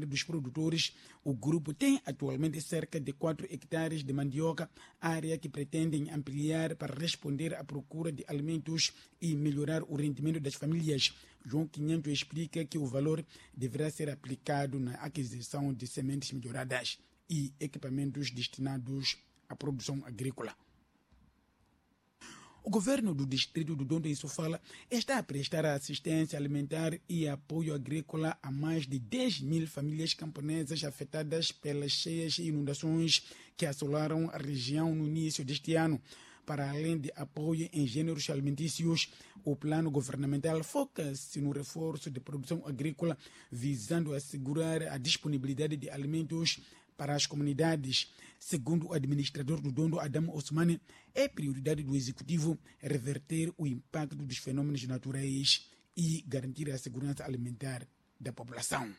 Dos produtores, o grupo tem atualmente cerca de 4 hectares de mandioca, área que pretendem ampliar para responder à procura de alimentos e melhorar o rendimento das famílias. João Quinhento explica que o valor deverá ser aplicado na aquisição de sementes melhoradas e equipamentos destinados à produção agrícola. O governo do distrito do Dondo em Sofala está a prestar assistência alimentar e apoio agrícola a mais de 10 mil famílias camponesas afetadas pelas cheias e inundações que assolaram a região no início deste ano. Para além de apoio em gêneros alimentícios, o plano governamental foca-se no reforço de produção agrícola, visando assegurar a disponibilidade de alimentos para as comunidades. Segundo o administrador do Dondo, Adamo Osmane, é prioridade do executivo reverter o impacto dos fenômenos naturais e garantir a segurança alimentar da população.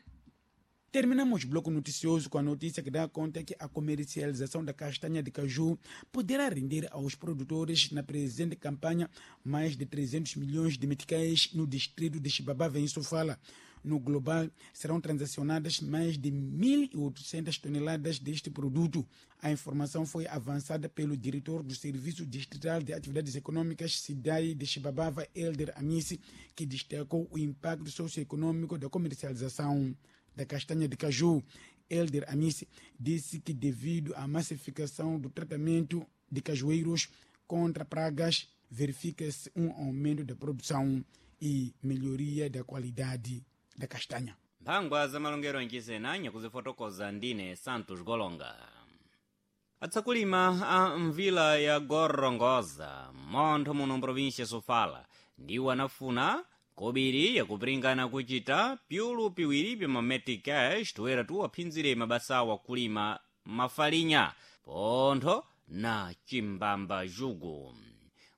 Terminamos o bloco noticioso com a notícia que dá conta que a comercialização da castanha de caju poderá render aos produtores na presente campanha mais de 300 milhões de meticais no distrito de Chibabava, em Sofala. No global, serão transacionadas mais de 1.800 toneladas deste produto. A informação foi avançada pelo diretor do Serviço Distrital de Atividades Econômicas, SIDAI de Chibabava, Elder Amici, que destacou o impacto socioeconômico da comercialização da castanha de caju. Elder Amici disse que, devido à massificação do tratamento de cajueiros contra pragas, verifica-se um aumento da produção e melhoria da qualidade da castanha. Mphangwa za malongero anchisena nyakuzifotokoza ndine Santos Golonga. Atsakulima a mvila ya Gorongosa, montho muno mprovinsia Sofala, ndiwo anafuna kobiri yakupiringana kuchita piulu piwiri pya mametic cash toera tuwaphinzire mabasa akulima mafalinya pontho na chimbamba jugu.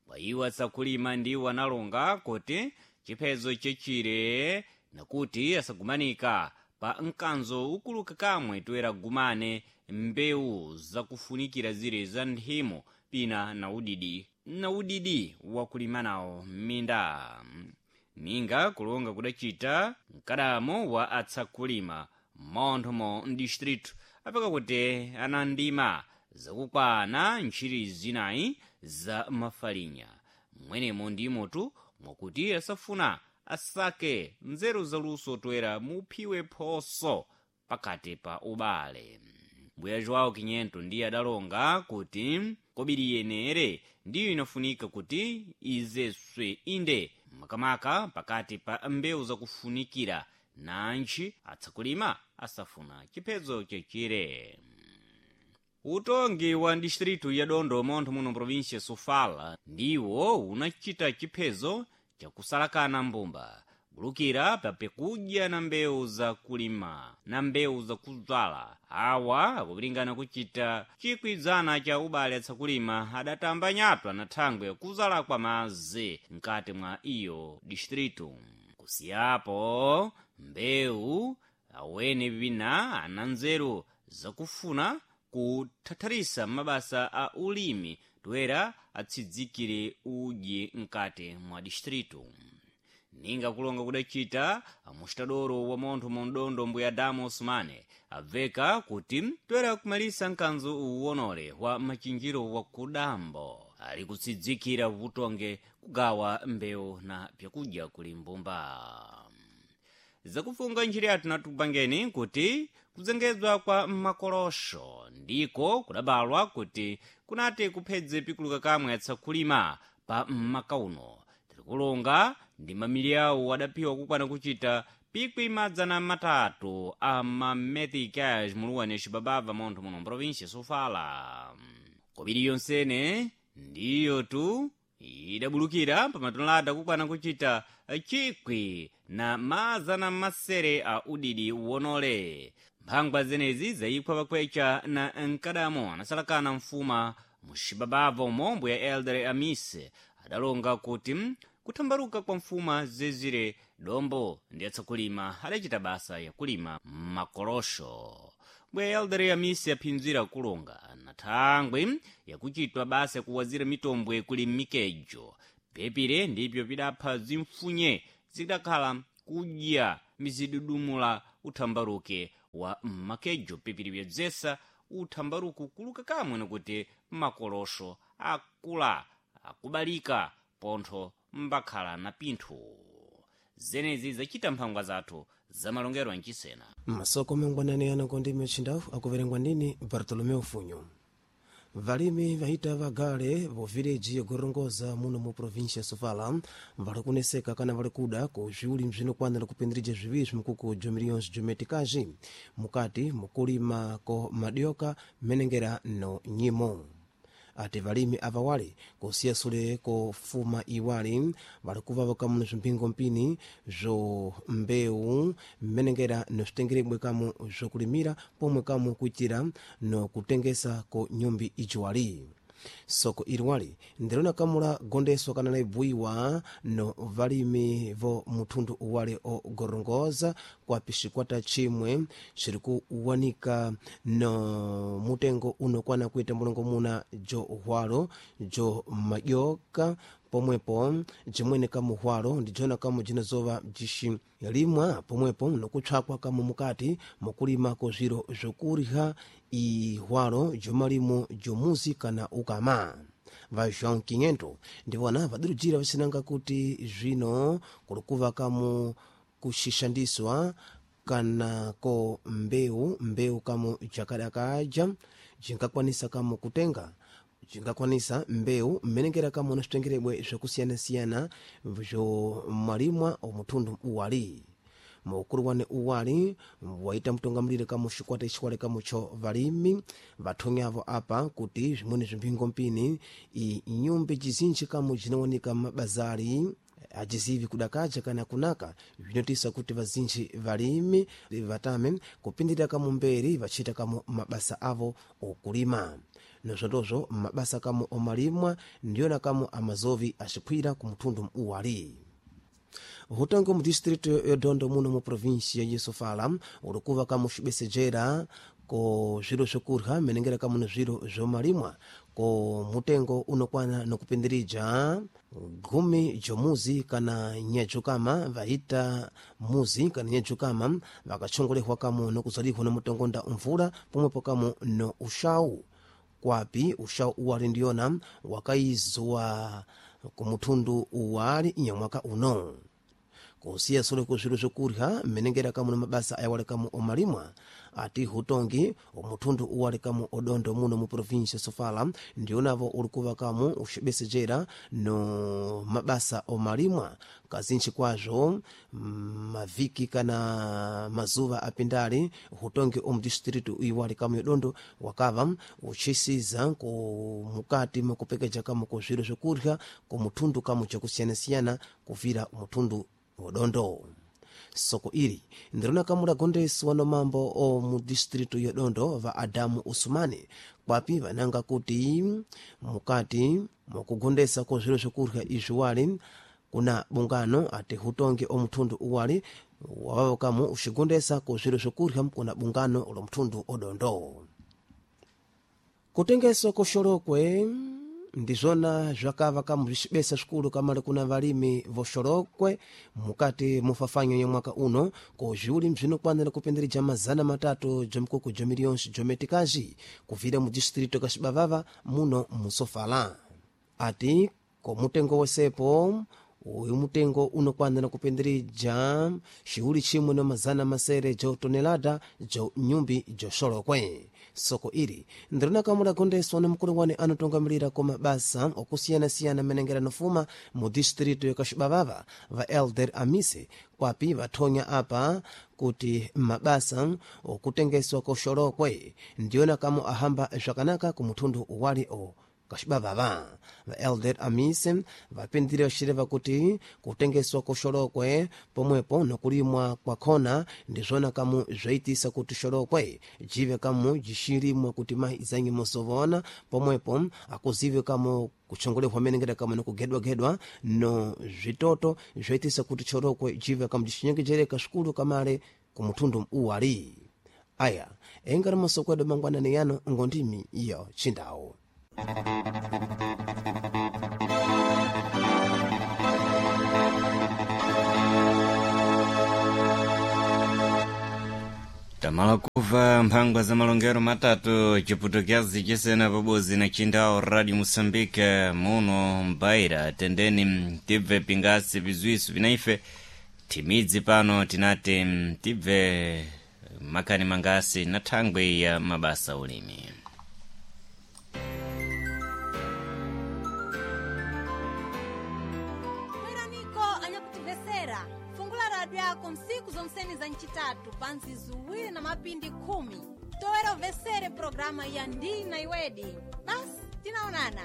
Kwa iwo atsakulima ndiwo analonga kuti chiphezo chechire nakuti asagumanika pa mkanzo ukuluka kamwe toera gumane mbewu zakufunikira zire za nthimo pina na udidi na udidi wakulima nawo m'minda. Ninga kulonga kudacita mkadamo wa atsakulima monthomo mdistritu apeka kuti anandima zakukwana ntchiri zinayi za mafalinya mwenemo ndimotu mwakuti asafuna asake nzeru zaluso toera muphiwe phoso pakati pa ubale. Mbuya João Quinhento ndiye adalonga kuti kobiri yenere ndiyo inafunika kuti izeswe inde makamaka pakati pa mbewu zakufunikira nantchi atsakulima asafuna chiphezo chechire. Utongi wa distritu ya Dondo montho muno provinsia Sofala ndiwo unachita chiphezo chakusalakana mbumba bulukira papekudya na mbewu zakulima na mbewu zakudzala. Awa akupiringana kuchita chikwizana cha ubale atsakulima adatamba nyatwa na thangwe yakuzala kwa madzi mkati mwa iyo distritu. Kusiyapo mbewu awene vina ana nzeru zakufuna kuthatharisa mabasa a ulimi toera atsidzikire udyi mkati mwa distritu. Ninga kulonga kudacita amustadoro wa montho mondondo mbuya Damo Osmane abveka kuti toera kumalisa mkanzo uwonole wa machinjiro wa kudambo ali kutsidzikira vutonge kugawa mbewu na pyakudya kuli mbumba. Zakufunga njira yathu natupangeni kuti kudzengedzwa kwa makolosho ndiko kudabalwa kuti kunati kuphedze pikuluka kamwe atsakulima pa mmaka uno. Tirikulonga ndi mamiliyawo adaphiwa kukwana kuchita pikwi madzana matatu a mameticas muluwani Cibabava montho muno mprovinsia Sofala. Kobiri yonsene ndiyo tu idabulukira pamatonelada kukwana kuchita chikwi na mazana masere a udidi wonole. Mphangwa zenezi zayiphwa pakwecha na mkadamo anasalakana mfuma mucibabava mombo ya Elder Amise adalonga kuti kuthambaluka kwa mfuma zezire dombo ndi atsakulima adacita basa yakulima makolosho. Bwe Elder Amise aphinzira kulonga na thangwe yakuchitwa basa yakuwazira mitombwe kuli mikejo pepire ndipyo pidapha zimfunye zidakhala kudya mizidudumula uthambaluke. wa makejo pipiri byebzesa uthambaruku kuluka kamwe nikuti makolosho akula akubalika pontho mbakhala na pinthu. Zenezi zacita mphangwa zathu zamalongero ancisena. Masoko mangwanani ano ndimi achindawu akuverengwa ndini Bartolomeu Funyo. Valimi vahita vagale vo vileji ya Gorongosa muno mu província ya Sofala vali kuneseka kana vali kuda ku zviuli bzinokwanira kupindirija zviwiri zvimikuku jo milhões de meticais mukati mukulima ko madioka menengera no nyimo. Ati valimi ava wali kusiya sule kofuma iwali vali kuvava kamu na zvimpingo mpini zvo mbewu mmenengera na zvitengerebwe kamu zvokulimira pomwe kamu kuitira no kutengesa ko nyumbi ijiwali. Soko iliwali ndilona kamu la gondeswa kana laibuiwa no valimi vo muthundu uwale o Gorongosa kwa pixikwata chimwe xiri kuwanika no mutengo unokwana kuita mulongo muna jo hwalo jo madyoka pomwepo jimwene kamu hwalo ndijona kamu jinazova jixilimwa pomwepo nokutshakwa kamu mukati mukulima ko zviro zvokurya ihwalo jomalimo jomuzi kana ukama. Va João 500 ndivona vadurujira vacinanga kuti zvino kulikuva kamu kuxixandiswa kana ko mbeu kamu jakadakaja jinkakwanisa kamu kutenga jingakwanisa mbewu mmenengera kamu na zvitengerebwe zvakusiyana-siyana zvomalimwa omuthundu uwali. Mukulu wane uwali waita mtungamilire kamu xikwata ixiwale kamu cho valimi vathonyavo apa kuti zvimweni zvimphingo mpini inyumbi jizinji kamu jinawanika mabazari ajizivi kudakaja kana kunaka zvinotisa kuti vazinji valimi vatame kupindirira kamu mberi vachita kamu mabasa avo okulima. Nozvondozvo mabasa kamu omalimwa ndiyona kamu amazovi axikhwira ku muthundu uwali. Hutango mu distrito ya Dondo muno mu província ya Sofala ulikuva kamu xibesejera ko zviro zvokurya menengera kamu na zviro zvomalimwa ko mutengo unokwana nokupindirija gumi jomuzi kana nyajukama vahita muzi kana nyajukama vakachongolehwa kamu nokuzalihwa na mutongonda mvula pomwepo kamu no uxawu. Kwapi uxawu uwali ndiyona wakaizwa kumuthundu uwali nyamwaka uno. Kusiya sule ku zviro zvokurya mmenengera kamu na mabasa ayawale kamu omalimwa ati hutongi omuthundu uwale kamu odondo muno mu província Sofala ndionavo ulikuva kamu uxibesejera no mabasa omalimwa kazinji kwazvo mavhiki kana mazuva apindali hutongi omu distritu iwale kamu yodondo wakava uchisiza ku mukati mukupekeja kamu ku zviro zvokurya ku muthundu kamu jakusiyana-siyana kuvira muthundu odondo. Soko ili ndirona kamula gondeswa no mambo o mu distritu ya Dondo va Adamu Usumani kwapi vananga kuti mukati mukugondesa ko zviro zvokurya izvi wali kuna bungano ati hutongi o muthundu uwali wavavo kamu uxigondesa ko zviro zvokurya kuna bungano lo muthundu odondo. Kutengeswa ko xolokwe ndizvona zvakava kamu zvixibesa zvikulu kamale kuna valimi voxolokwe mukati mufafanyo ya mwaka uno ko zviuli bzinokwanira kupindirija 300 jomikuku jo milhões jo meticais kuvira mu distrito ka Xibavava muno mu Sofala. Ati ko mutengo wesepo uyu mutengo unokwanira kupindirija xiuli chimwe na 600 jo tonelada jo nyumbi jo xolokwe. Soko ili ndirina kamula gondeswa na mukulu wane anotungamilira ko mabasa okusiyana-siyana menengera nofuma mu distrito ya Kaxibavava va Elder Amise kwapi vathonya apa kuti mabasa okutengeswa ko xolokwe ndiyona kamu ahamba zvakanaka ku muthundu uwali o Kaxibavava. Va Elder Amise vapindire vaxireva kuti kutengeswa ko xolokwe pomwepo nokulimwa kwakhona ndizvona kamu zvaitisa kuti xolokwe jive kamu jixilimwa kuti mayi izanyi mosovona pomwepo akuzive kamu kuchongolehwa menengera kamu nokugedwagedwa no zvitoto zvaitisa kuti xolokwe jive kamu jixinyengejereka xikulu kamale ku muthundu uwali. Aya engari masoko edu mangwanani yano ngondimi iyo chindawu. Tamala kuva mphangwa za malongero matatu chiputukezi chisena pabuzi na chindao Radio Moçambique muno mbaira tendeni tibve pingasi bizwisu vinaife timidzi pano tinati tibve makani mangasi na thangwi ya mabasa ulimi. Bweraniko anyakutimvesera fungula radio yako msiku zomseni za ncitatu panzi ziwiri na mapindi 10 toera uvesere programa ya ndina iwedi. Basi tinaonana.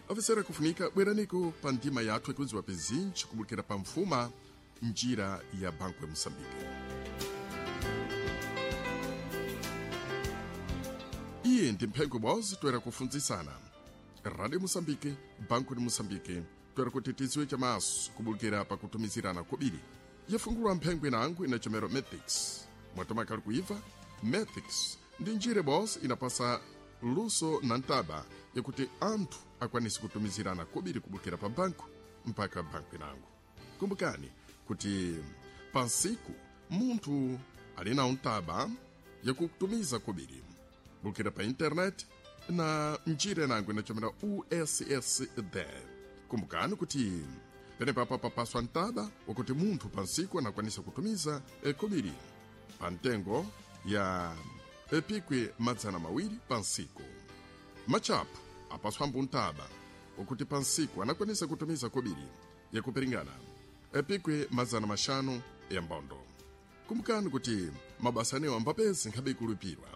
Afisera kufunika bweraniko pa ndima yathu ikudziwa pizinji kubulukira pa mfuma njira ya Banco ya Moçambique. Iye ndi mphengo bwozi toera kufunzisana Radio Moçambique, Banco de Moçambique, toera kuti tidziwe chamaso kubulukira pakutumizirana kobiri. Yafungulwa mphengo inango inachomero Matrix. Mwatomakali kuiva Matrix ndi njira bwozi inapasa luso na ntaba yakuti anthu akwanise kutumizirana kobiri kubukira pa banku mpaka banku inango. Kumbukani kuti pansiku munthu ali nawo ntaba yakutumiza kobiri bulukira pa internet na njira inango inachomera USSD. Kumbukani kuti penepapa papaswa ntaba wakuti munthu pansiku anakwanisa kutumiza kobiri pa ntengo ya epikwi 200 pansiku. Machapu apaswambo ntaba wakuti pansiku anakwanisa kutumiza kobiri yakupiringana epikwi 500 ya mbondo. Kumbukani kuti mabasa anewo ambapezi nkhabe ikulupirwa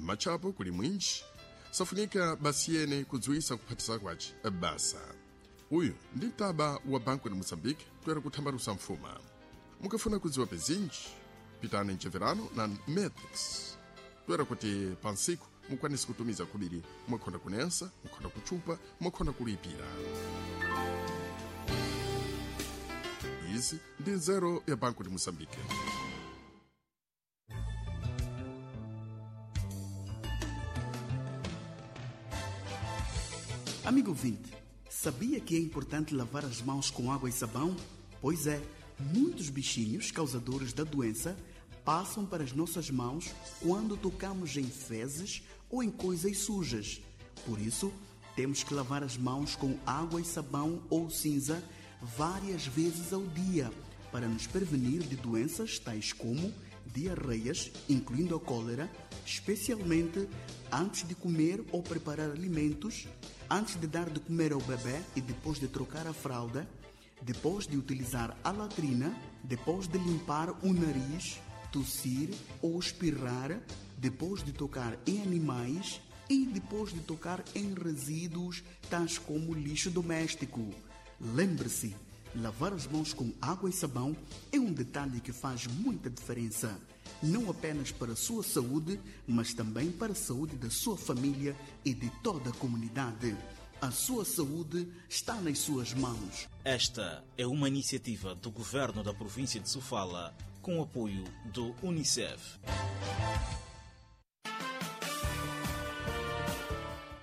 machapo kuli mwinji safunika basi yene kudziwisa kuphatisa kwace basa. Uyu ndi mtaba wa Banco de Moçambique toera kuthambalusa mfuma. Mukafuna kudziwa pezinji pitani mcheverano na Matrix toera kuti pansiku mukwanise kutumiza kubiri mwakhonda kunensa, mwakhonda kuchupa, mwakhonda kulipira. Izi ndi nzeru ya Banco de Moçambique. Amigo ouvinte, sabia que é importante lavar as mãos com água e sabão? Pois é, muitos bichinhos causadores da doença passam para as nossas mãos quando tocamos em fezes ou em coisas sujas. Por isso, temos que lavar as mãos com água e sabão ou cinza várias vezes ao dia para nos prevenir de doenças tais como diarreias, incluindo a cólera, especialmente antes de comer ou preparar alimentos, antes de dar de comer ao bebê e depois de trocar a fralda, depois de utilizar a latrina, depois de limpar o nariz, tossir ou espirrar, depois de tocar em animais e depois de tocar em resíduos tais como lixo doméstico. Lembre-se, lavar as mãos com água e sabão é um detalhe que faz muita diferença, não apenas para a sua saúde, mas também para a saúde da sua família e de toda a comunidade. A sua saúde está nas suas mãos. Esta é uma iniciativa do governo da província de Sofala com o apoio do Unicef.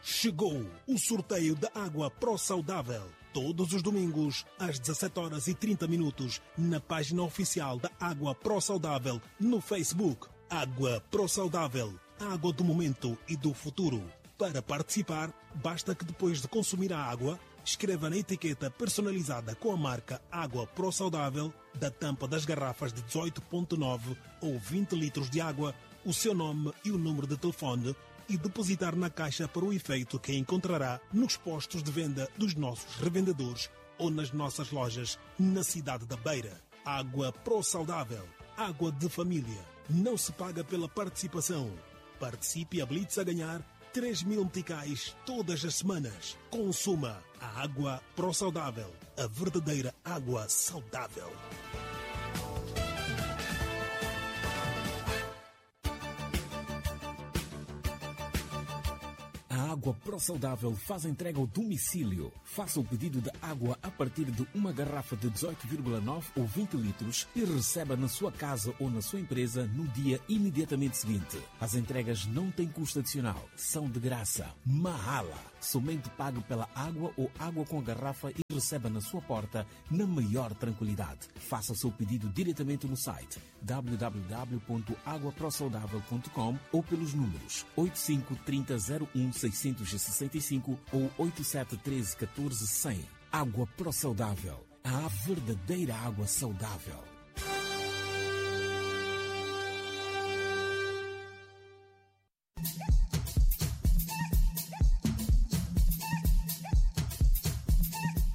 Chegou o sorteio da água Pro Saudável. Todos os domingos, às 17h30, na página oficial da Água Pro Saudável no Facebook. Água Pro Saudável, a água do momento e do futuro. Para participar, basta que depois de consumir a água, escreva na etiqueta personalizada com a marca Água Pro Saudável da tampa das garrafas de 18,9 ou 20 litros de água, o seu nome e o número de telefone e depositar na caixa para o efeito que encontrará nos postos de venda dos nossos revendedores ou nas nossas lojas na cidade da Beira. Água Pro Saudável, água de família. Não se paga pela participação. Participe e habilite-se a ganhar 3 mil meticais todas as semanas. Consuma a água Pro Saudável, a verdadeira água saudável. A Água Pro Saudável faz entrega ao domicílio. Faça o pedido de água a partir de uma garrafa de 18,9 ou 20 litros e receba na sua casa ou na sua empresa no dia imediatamente seguinte. As entregas não têm custo adicional, são de graça. Mahala. Somente pague pela água ou água com a garrafa e receba na sua porta na maior tranquilidade. Faça o seu pedido diretamente no site www.aguaprosaudável.com ou pelos números 85 30 01 665 ou 87 13 14 100. Água Pro Saudável. A verdadeira água saudável.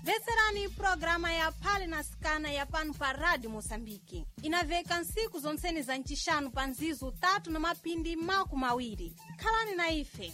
Veserani programa ya Phale na Sikana ya pano pa Rádio Moçambique. Inaveka nsiku zonseni za ncixanu pa nzizu 3 na mapindi 20. Khalani na ife.